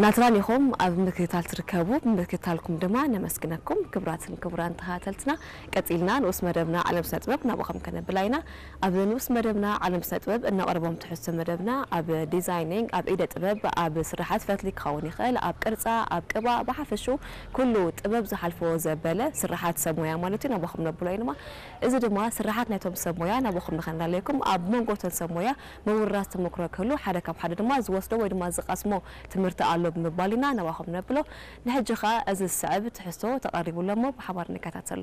ናትራን ኢኹም ኣብ ምክትታል ትርከቡ፣ ብምክትታልኩም ድማ ነመስግነኩም። ክቡራትን ክቡራን ተኸታተልትና፣ ቀጺልና ንኡስ መደብና ዓለም ስነ ጥበብ ናባኹም ከነብላ ኢና። ኣብ ንኡስ መደብና ዓለም ስነ ጥበብ እነቕርቦም ትሕዝቶ መደብና ኣብ ዲዛይኒንግ፣ ኣብ ኢደ ጥበብ፣ ኣብ ስራሓት ፈትሊ ክኸውን ይኽእል፣ ኣብ ቅርጻ፣ ኣብ ቅባ፣ ብሓፈሽኡ ኩሉ ጥበብ ዝሓልፎ ዘበለ ስራሓት ሰብ ሞያ ማለት እዩ፣ ናባኹም ነብሎ ኢና። እዚ ድማ ስራሓት ናይቶም ሰብ ሞያ ናባኹም ንኸነላለየኩም፣ ኣብ መንጎ እቶም ሰብ ሞያ ምውርራስ ተመክሮ ክህሉ፣ ሓደ ካብ ሓደ ድማ ዝወስዶ ወይ ድማ ዝቐስሞ ትምህርቲ ኣሎ ብምባል ኢና ናባኹም ነብሎ። ንሕጂ ኸኣ እዚ ዝስዕብ ትሕዝቶ ተቐሪቡ ኣሎ እሞ ብሓባር ንከታተሎ።